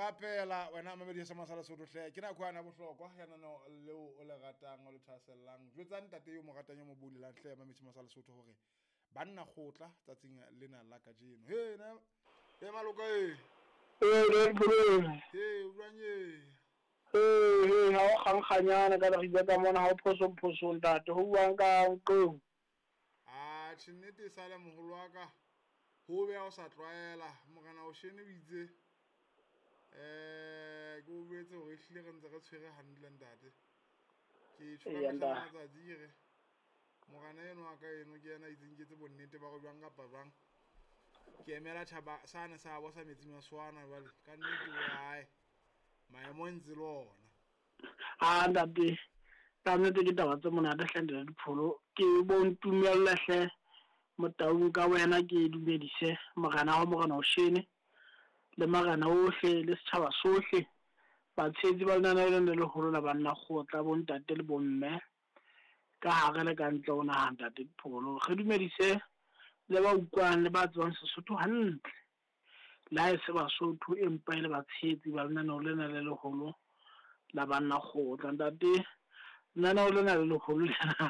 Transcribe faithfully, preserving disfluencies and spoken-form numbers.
rapela wena mamedi sa Masala Sotho hle ke nako yana bohlokwa ya nano leo o le ratang o le thahasellang. Jwetsa ntate yo mo ratang yo mo bulelang hle mamedi Masala Sotho hore banna kgotla tsatsing lena la kajeno. He na e maloka e. Ee, le He o jwang e? Ee, he, ha o kgankganyana ka leriba ka mona ha o phoso phoso ntate ho buang ka nqong. Ah, tjhe nnete e sale moholo wa ka. Ho be ha o sa tlwaela morena o shene o itse eh ke o boletse hore ehlile re ntse re tshwere hantle ntate. Ke tjho ka Eya, mehla le ntate. matsatsi ke re morena eno wa ka eno ke yena a itseng ke etse bonnete ba hore jwang kapa jwang ke emela tjhaba sane sa bo sa metsing a swana jwale ka nnete o hae maemo ntse le ona. Ah ntate, ka nnete ke taba tse monate hle ntate Dipholo. Ke bo ntumelle hle motaung ka wena ke dumedise morena wa morena o shene le marena ohle le setjhaba sohle batshehetsi ba lenaneo lena le leholo la banna kgotla bo ntate le bomme ka hare le ka ntle ho naha ntate Dipholo. Re dumedise le ba utlwang le ba tsebang Sesotho hantle le ha e se Basotho empa e le batshehetsi ba lenaneo lena le leholo la banna kgotla. Ntate, lenaneo lena le leholo lena